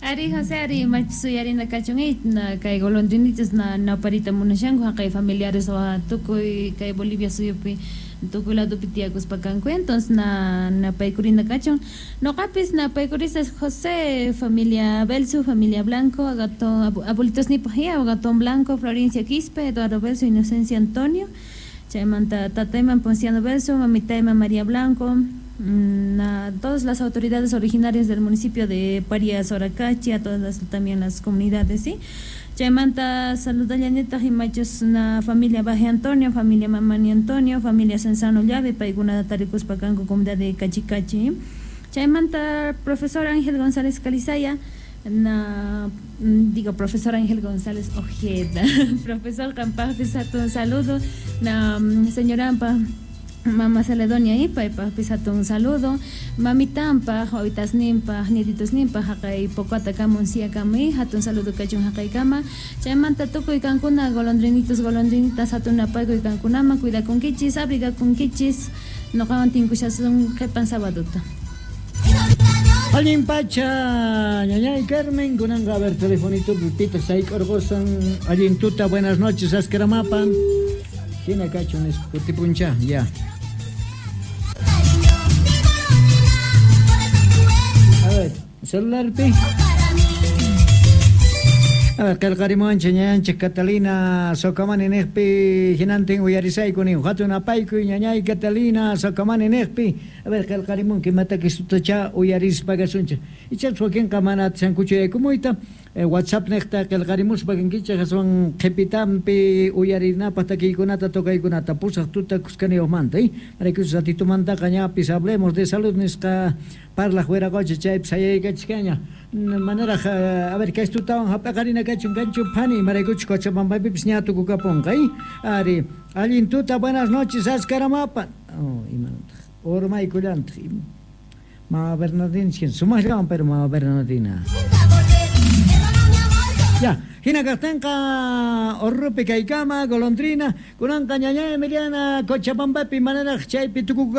Ari José, ari imachus uyarina kachun na kay golondrinitas na naparita munashanku haqay familiares wa tukuy kay Bolivia suyupi tukuy ladopi tiyakuspa kanku, entonces na napaykurina kachun. Noqapis napaykurisas José, familia Belsu, familia Blanco, Agatón, abuelitos nipaj Agatón Blanco, Florencia Quispe, Eduardo Belsu, Inocencia Antonio, chaymanta tatayman Ponciano Belsu, mamitayman María Blanco, a todas las autoridades originarias del municipio de Parias, Soracachi, a todas las, también las comunidades, ¿sí? Chaymanta saludallanitaq imachus na familia Baje Antonio, familia Mamani Antonio, familia Sensano Llave, paykuna tarikuspa kanku comunidad de Cachicachi. Chaymanta profesor Ángel González Calizaya, na digo profesor Ángel González Ojeda, profesor qampaqpis hatun saludo, na señorampa Mama Celedonia paypaqpis hatun saludo, mamitampaq, wawitasninpaq, nietitosninpaq haqay Pocata kamun hatun saludo kachun haqaykama. Chaymanta tukuy kankuna golondrinitos, golondrinitas hatun napaykuy kankunaman, cuidakunkichis, abrigakunkichis, noqawan tinkushasun qhipan sabaduta. Allin pacha, ñañay Carmen, kunanqa a ver telefonito pipita sayk'urqusan, allin tuta, buenas noches, askaramapan. Hina kachun nispa kutipuncha, ya. A ver, celular pi. A ver, qillqarimuwanchik ñañanchik Catalina Socamani niqpi hinantin uyarisayku nin hatun apaykuy ñañay Catalina Socamani niqpi. A ver, qillqarimunki imatakis tutacha uyarispa kasunchik. Ichapas wakinqa mana atishankuchu yaykumuyta WhatsApp niqta qillqarimuspa kankichik aswan qhipitampi uyarinapaq takiykunata tocaykunata pusaq tuta kuskaniyuqmanta, maraykuchus ratitumantaqa ñapis hablemos de salud nisqa parlaq wiraqocha chaypi sayaykachikaña. Manaraq a ver kay tutawan hap'aqarina kachun kanchu phani maraykuchus Cochabambapipis ña tukukapunqa, ari allin tuta, buenas noches askaramapa. Oh, imanataq urmaykullantaq Mama Bernardina sumaqllawan pero Mama Bernardina. Ya, hina kaqtinqa Orrupi kaykama golondrina kunanqa ñañay Emiliana Cochabambapi manaraq chaypi tukukapunqa.